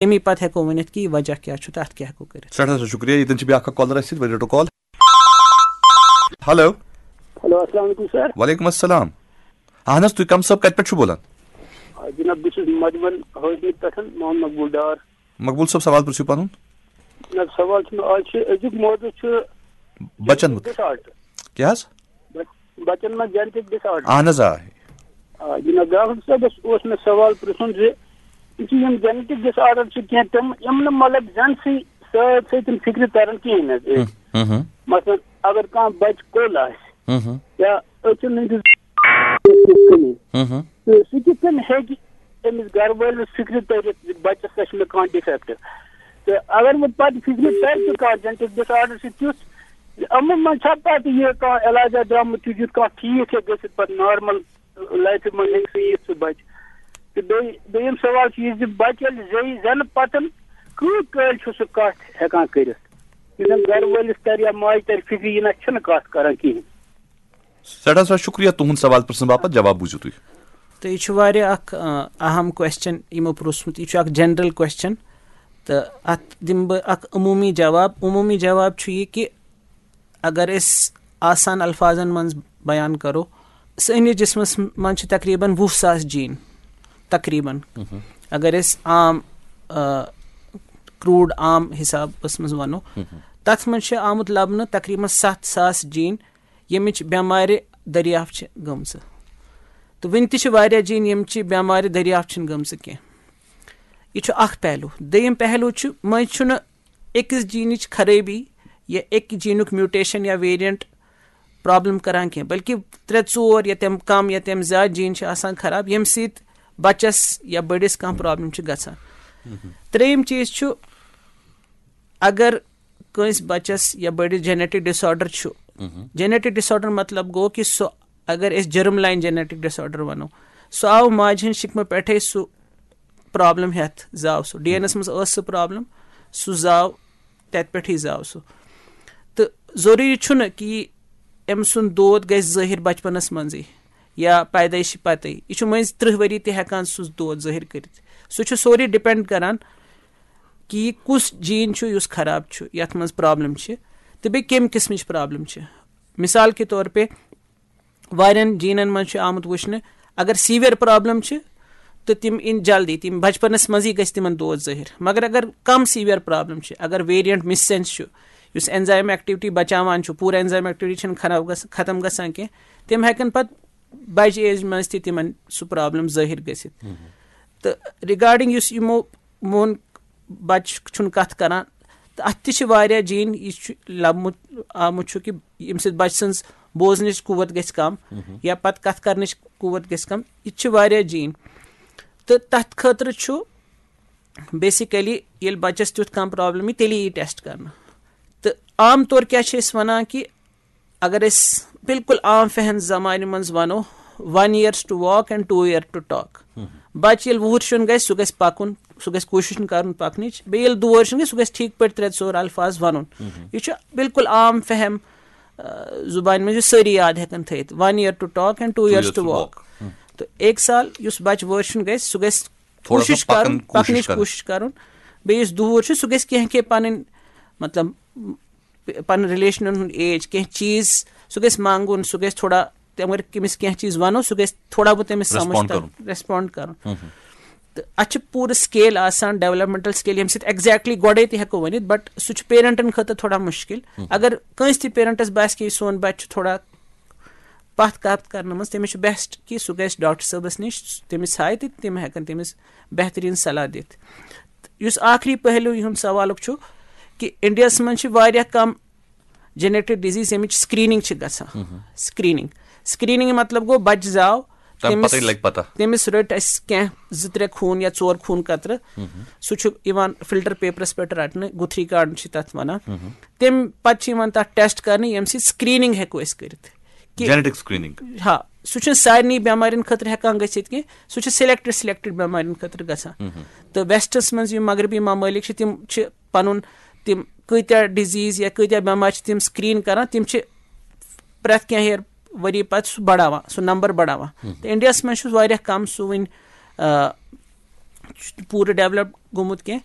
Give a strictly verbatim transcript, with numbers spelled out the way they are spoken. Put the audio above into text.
اَمی پتہٕ ہٮ۪کو ؤنِتھ کہِ یہِ وجہ کیٛاہ چھُ تہٕ اَتھ کیٛاہ ہٮ۪کو کٔرِتھ۔ سٮ۪ٹھاہ سٮ۪ٹھاہ شُکریہ۔ ییٚتٮ۪ن چھِ بیٛاکھ اَکھ caller اَسہِ سۭتۍ، وۄنۍ رَٹو call۔ Hello۔ Hello، السلام علیکم sir۔ وعلیکم السلام۔ اہن حظ، تُہۍ کَم صٲب کَتہِ پٮ۪ٹھ چھِو بولان؟ آ، جناب، بہٕ چھُس مدوَن حٲجی پٮ۪ٹھ، محمد مقبول ڈار۔ مقبول صٲب، سوال پرٛژھِو پَنُن۔ جناب، سوال چھُ مےٚ، آز چھُ أزیُک موضوع چھُ بَچَن مُتعلِق۔ Disorder۔ کیٛاہ حظ؟ بَچ-، بَچَن منٛز genetic disorder۔ اہن حظ، آ۔ آ، جناب، ڈاکٹر صٲبَس اوس مےٚ سوال پرٛژھُن زِ یہِ چھِ یِم genetic disorder چھِ کینٛہہ تِم، یِم نہٕ مطلب زَن سٕے سۭتۍ سۭتۍ تِم فِکرِ تَرَن کِہیٖنۍ حظ۔ ہُم، ہُم، ہُم۔ مثلاً اگر کانٛہہ بَچہٕ کوٚل آسہِ ہُم، ہُم۔ یا أچھَن ہٕنٛدِس کٔمی، ہُم، ہُم۔ تہٕ سُہ کِتھ کٔنۍ ہیٚکہِ أمِس گَرٕ وٲلِس فِکرِ تٔرِتھ زِ بَچَس سۭتۍ چھِ مےٚ کانٛہہ defect؟ تہٕ اگر وۄنۍ پَتہٕ فِکرِ تَرِ تہِ کانٛہہ genetic disorder چھِ تیُتھ، یِمَن منٛز چھا پَتہٕ یہِ کانٛہہ علاجا درٛامُت تیُتھ یُتھ کانٛہہ ٹھیٖک ہیٚکہِ گٔژھِتھ پَتہٕ normal lifeہِ منٛز ہیٚکہِ سُہ یِتھ سُہ بَچہٕ؟ تہٕ بیٚیہِ دوٚیِم سوال چھُ یہِ زِ بَچہٕ ییٚلہِ زیٚیہِ زٮ۪نہٕ پَتَن کۭتۍ کٲلۍ چھُ سُہ کَتھ ہٮ۪کان کٔرِتھ؟ یُس زَن گَرٕ وٲلِس تَرِ یا ماجہِ تَرِ فِکرِ، یہِ نہ چھِنہٕ کَتھ کَران کِہیٖنۍ۔ سٮ۪ٹھاہ سٮ۪ٹھاہ شُکریہ تُہُنٛد سوال پرٛژھنہٕ باپتھ۔ جواب بوٗزِو تُہۍ۔ تہٕ یہِ چھُ واریاہ اَکھ، آ، اَہَم question یِمو پرٛژھمُت۔ یہِ چھُ اَکھ general question، تہٕ اَتھ دِمہٕ بہٕ اَکھ عموٗمی جواب۔ عموٗمی جواب چھُ یہِ کہِ اگر أسۍ آسان الفاظن منٛز بیان کرو، سٲنِس جسمس منٛز چھِ تقریباً وُہ ساس gene، تقریباً۔ مہم۔ اگر أسۍ عام، آ، crude عام حسابس منٛز ونو، مہم۔ تتھ منٛز چھِ آمُت لبنہٕ تقریباً ستھ ساس gene، ییٚمِچ بٮ۪مارِ دٔریافت چھِ گٔمژٕ۔ تہٕ وُنہِ تہِ چھِ واریاہ gene، یِم چہِ بٮ۪مارِ دٔریافت چھِنہٕ گٔمژٕ کینٛہہ۔ یہِ چھُ اکھ پہلو۔ دوٚیِم پہلو چھُ، مٔنٛزۍ چھُنہٕ أکِس geneٕچ خرٲبی یا أکِس geneُک mutation یا variant problem کران کینٛہہ، بلکہِ ترٛےٚ ژور یا تَمہِ کم یا تَمہِ زیادٕ gene چھِ آسان خراب، ییٚمہِ سۭتۍ بچس یا بٔڑِس کانٛہہ problem چھِ گژھان۔ مہم۔ ترٛیٚیِم چیٖز چھُ، اگر کٲنٛسہِ بچس یا بٔڑِس genetic disorder چھُ، مہم۔ Genetic disorder مطلب گوٚو کہِ سُہ، اگر أسۍ germline genetic disorder ونو، سُہ آو ماجہِ ہٕنٛدِ شِکمہٕ پٮ۪ٹھے سُہ problem ہٮ۪تھ زاو سُہ۔ DNA یَس منٛز ٲس سُہ problem، سُہ زاو، تَتہِ پٮ۪ٹھٕے زاو سُہ۔ تہٕ ضروٗری چھُنہٕ کہِ أمۍ سُنٛد دود گژھِ ظٲہِر بچپنس منٛزٕے یا پیدٲیشہِ پتے۔ یہِ چھُ مٔنٛزۍ ترٕٛہ ؤری تہِ ہٮ۪کان سُہ دود ظٲہِر کٔرِتھ۔ سُہ چھُ سورُے depend کران کہِ یہِ کُس gene چھُ یُس خراب چھُ، یَتھ منٛز problem چھِ، تہٕ بیٚیہِ کَمہِ قٕسمٕچ problem چھِ۔ مثال کے طور پہ، واریاہَن geneَن منٛز چھُ آمُت وٕچھنہٕ، اگر severe problem چھِ، تہٕ تِم یِن جلدی، تِم بچپنَس منٛزٕے گژھِ تِمَن دود ظٲہِر۔ مگر اگر کم severe problem چھِ، اگر variant missense چھُ، یُس enzyme activity بچاوان چھُ، پوٗرٕ enzyme activity چھِنہٕ خراب گژھ-، ختم گژھان کینٛہہ، تِم ہٮ۪کَن پَتہٕ بَجہِ age منٛز تہِ تِمَن سُہ problem ظٲہِر گٔژھِتھ۔ مہم۔ تہٕ regarding یُس یِمو میون بَچہٕ چھُنہٕ کَتھ کَران، تہٕ اَتھ تہِ چھِ واریاہ gene، یہِ چھُ لَبمُت آمُت چھُ کہِ ییٚمہِ سۭتۍ بَچہٕ سٕنٛز بوزنٕچ قوت گژھِ کَم، مہم۔ یا پَتہٕ کَتھ کَرنٕچ قوت گژھِ کَم، یہِ تہِ چھِ واریاہ gene۔ تہٕ تَتھ خٲطرٕ چھُ basically ییٚلہِ بَچَس تیُتھ کانٛہہ problem یی، تیٚلی یی test کَرنہٕ۔ تہٕ عام طور کیٛاہ چھِ أسۍ وَنان کہِ اگر أسۍ بالکل عام فہم زمانہِ منٛز ونو، one years to walk and two year to talk۔ ہم۔ بچہِ ییٚلہِ وُہُر شُن گژھِ، سُہ گژھِ پکُن، سُہ گژھِ کوٗشش کرُن پکنٕچ۔ بیٚیہِ ییٚلہِ دُوہُر شُن گژھِ، سُہ گژھِ ٹھیٖک پٲٹھۍ ترٛےٚ ژور الفاظ ونُن۔ ہم۔ یہِ چھُ بالکل عام فہم، آ، زبانہِ منٛز یہِ سٲری یاد ہٮ۪کن تھٲیِتھ، one year to talk and two years to walk۔ ہم۔ تہٕ أکۍ سال یُس بچہِ وُہُر شُن گژھِ، سُہ گژھِ تھوڑا سا کوٗشش پکن، کرُن، کوٗشش پکنٕچ کرٕنۍ۔ کوٗشش کرُن۔ بیٚیہِ یُس دُوہُر چھُ، سُہ گژھِ کینٛہہ کینٛہہ پنٕنۍ، مطلب، پ-، پنٕنۍ relationن ہُنٛد age، کینٛہہ چیٖز، سُہ گژھِ منٛگُن، سُہ گژھِ تھوڑا، تِم اگر کٔمِس کینٛہہ چیٖز ونو، سُہ گژھِ تھوڑا بہت تٔمِس سمجھ respond تر-، کرُن۔ Respond کرُن۔ ہم ہم۔ تہٕ اتھ چھِ پوٗرٕ scale آسان، developmental scale، ییٚمہِ سۭتۍ exactly گۄڈے تہِ ہٮ۪کو ؤنِتھ، but سُہ چھُ parentن خٲطرٕ تھوڑا مُشکِل۔ ہم۔ اگر کٲنٛسہِ تہِ parentس باسہِ کہِ یہِ سون بچہِ چھُ تھوڑا پتھ کتھ کرنہٕ منٛز، تٔمِس چھُ best کہِ سُہ گژھِ ڈاکٹر صٲبس نِش، تٔمِس ہاوِ تہٕ تِم ہٮ۪کن تٔمِس بہترین صلاح دِتھ۔ یُس ٲخری پہلو یِہُنٛد سوالُک چھُ کہِ انڈیاہس منٛز چھِ واریاہ کم genetic disease، ییٚمِچ screening چھِ گژھان۔ مہم۔ Screening، screening مطلب گوٚو بچہِ زاو، تَمہِ تٔمِس، پَتَے لَگہِ پَتہ۔ تٔمِس رٔٹۍ اَسہِ کینٛہہ زٕ ترٛےٚ خوٗن یا ژور خوٗن قطرٕ۔ مہم۔ سُہ چھُ یِوان filter paperس پٮ۪ٹھ رَٹنہٕ، گُتھری کارڈ چھِ تَتھ وَنان۔ مہم۔ تَمہِ پَتہٕ چھِ یِوان تَتھ test کرنہٕ، ییٚمہِ سۭتۍ screening ہٮ۪کو أسۍ کٔرِتھ۔ کہِ genetic screening۔ ہا، سُہ چھُنہٕ سارنٕے بٮ۪مارٮ۪ن خٲطرٕ ہٮ۪کان گٔژھِتھ کینٛہہ، سُہ چھُ selected، selected بٮ۪مارٮ۪ن خٲطرٕ گژھان۔ مہم۔ تہٕ westس منٛز یِم مغربی ممٲلِک چھِ، تِم چھِ پَنُن، تِم کۭتیٛاہ disease یا کۭتیٛاہ بٮ۪مارِ چھِ تِم screen کران، تِم چھِ پرٛٮ۪تھ کینٛہہ year، ؤری پتہٕ سُہ بڑاوان، سُہ number بڑاوان۔ ہم۔ تہٕ انڈیاہس منٛز چھُ واریاہ کم سُہ وٕنہِ، آ، چھُ پوٗرٕ ڈیولپ گوٚمُت کینٛہہ۔